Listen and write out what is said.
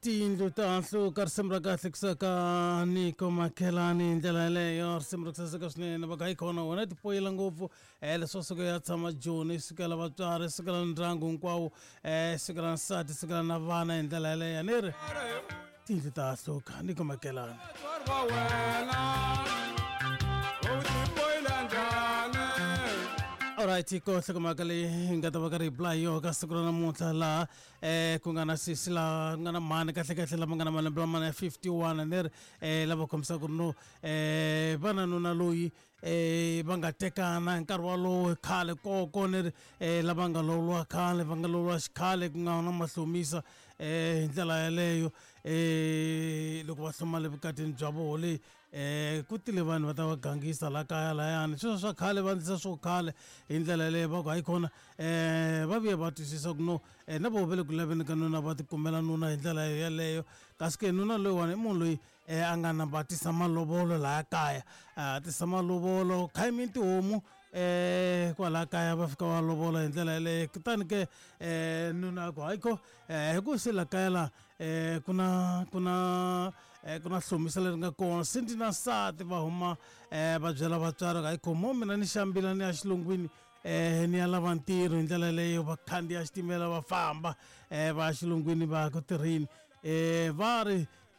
Tindlu ta hluka, risimu ra kahle kusaka Niko Makhelani hi ndlela yeleyo. Risimu ra ku saseka swinene va ka yi khona wona tipoyila ngopfu leswo suka ya tshama Joni, sukela vatswari, sukela ndyangu hinkwawo, sukela nsati, sukela na vana hi ndlela yeleyo. Ni ri tindlu ta hluka, Niko Makhelani. Va wena u tipoyila njhani? Alright, ko hlokomhaka leyi hi nga ta va karhi hi bula hi yona ka siku ra namuntlha laha ku nga na sesi laha ku nga na mhani kahlekahle lama nga na malembe lama ya 51, ni ri lava kombisaka ku ri no va na nuna loyi va nga tekana hi nkarhi walowo khale koko, ni ri lava nga lawuriwa khale, va nga lawuriwa xikhale ku nga na mahlomisa hi ndlela yaleyo. Loko va hloma le vukatini bya voho leyi, ku tile vanhu va ta va gangisa la kaya layani, sweswo swa khale va endlisa swo khale hi ndlela yaleyo. Va ku hayi khona, va vuye va twisisa ku no na voho va le ku laveni ka nuna, va tikumela nuna hi ndlela yeleyo. Kasi ke nuna loyiwani i munhu loyi a nga namba a tisa malovolo laya kaya, a tisa malovolo khayimini tihomu kwalaya kaya, va fika va lovola hi ndlela yeleyo. Kutani ke nuna a ku hayi ko, hi ku se la kaya la ku na hlomisa leri nga kona, se ndzi na nsati. Va huma va byela vatswari, hayi khomo, mina ni xambila ni ya xilungwini, ni ya lava ntirho hi ndlela yeleyo. Va khandziya xitimela va famba va ya xilungwini, va ya ku tirheni. Va ri